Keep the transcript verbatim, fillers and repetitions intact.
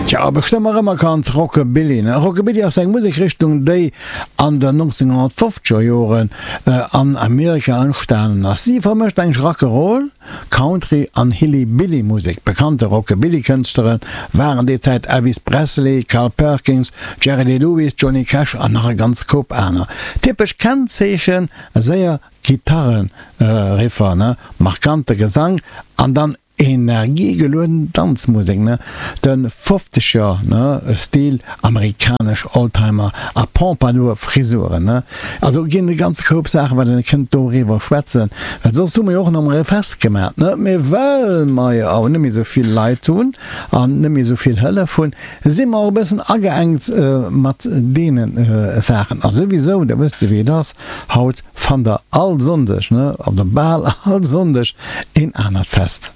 Tja, bestëmmt erëm erkannt, Rockabilly, ne? Rockabilly ass eng Musekrichtung, déi an den nonzénghonnertfofzeger Joren an Amerika entstanen ass. Si vermëscht eigentlech Rock'n'Roll, Country an Hillybilly-Musek. Bekannte Rockabilly-Kënschtlere waren déi Zäit Elvis Presley, Carl Perkins, Jerry Lee Lewis, Johnny Cash an nach e ganz Koup aner. Typesch Kennzeechen, séier Gitarre-Riffer, ne, markante Gesang an dann energiegelueden Danzmusek, ne, de fofzeger, ne, Stil, amerikanesch Oldtimer a Pompadour Frisuren, ne. Also ginn e ganze Koup Saachen, wat een kënnt doriwwer schwätzen, well soss hu mer jo och nach emol e Fest gemat, ne, mee well mer jo awer net méi esou vill Leit hunn an net méi esou vill Hëllef hunn, si mer och e bëssen ageengt mat deene Saachen. A souwisou, da wësst Dir wéi et ass, haut fannt Der all Sonndeg, ne, oder bal all Sonndeg een anert Fest.